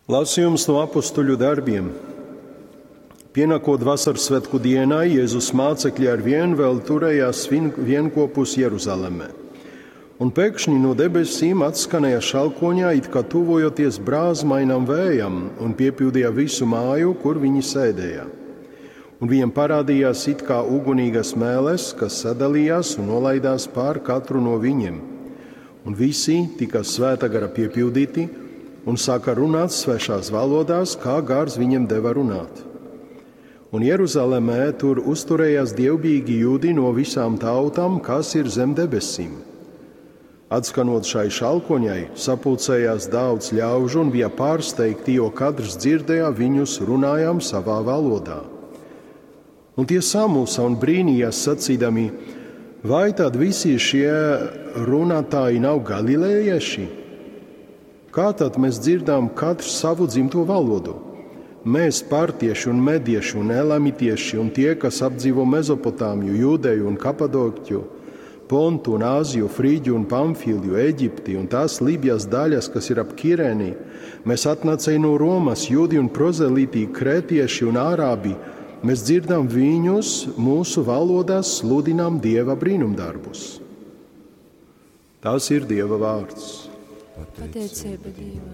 Lasījums no apustuļu darbiem. Pienākot vasaras svētku dienai, Jēzus mācekļi ar vienu vēl turējās vienkopus Jeruzalemē. Un pēkšņi no debesīm atskanēja šalkoņā, it kā tuvojoties brāzmainam vējam, un piepildīja visu māju, kur viņi sēdēja. Un viņiem parādījās it kā ugunīgas mēles, kas sadalījās un nolaidās pār katru no viņiem. Un visi tika svēta gara piepildīti un sāka runāt svešās valodās, kā gars viņiem deva runāt. Un Jeruzalemē tur uzturējās dievbijīgi jūdi no visām tautām, kas ir zem debesīm. Atskanot šai šalkoņai, sapulcējās daudz ļaužu un bija pārsteigti, jo katrs dzirdēja viņus runājām savā valodā. Un tie samulsa un brīnījās sacīdami, vai tad visi šie runātāji nav galilējieši? Kā tad mēs dzirdām katrs savu dzimto valodu? Mēs, partieši un medieši un elamitieši un tie, kas apdzīvo Mezopotāmiju, Judeju un Kapadokiju, Pontu un Āziju, Frīģu un Pamfiliju, Eģipti un tās Lībijas daļas, kas ir ap Kirēni, mēs atnācēji no Romas, jūdi un prozelītī, krētieši un ārābi, mēs dzirdam viņus mūsu valodās sludinām Dieva brīnumdarbus. Tas ir Dieva vārds. Pateicība Dievam.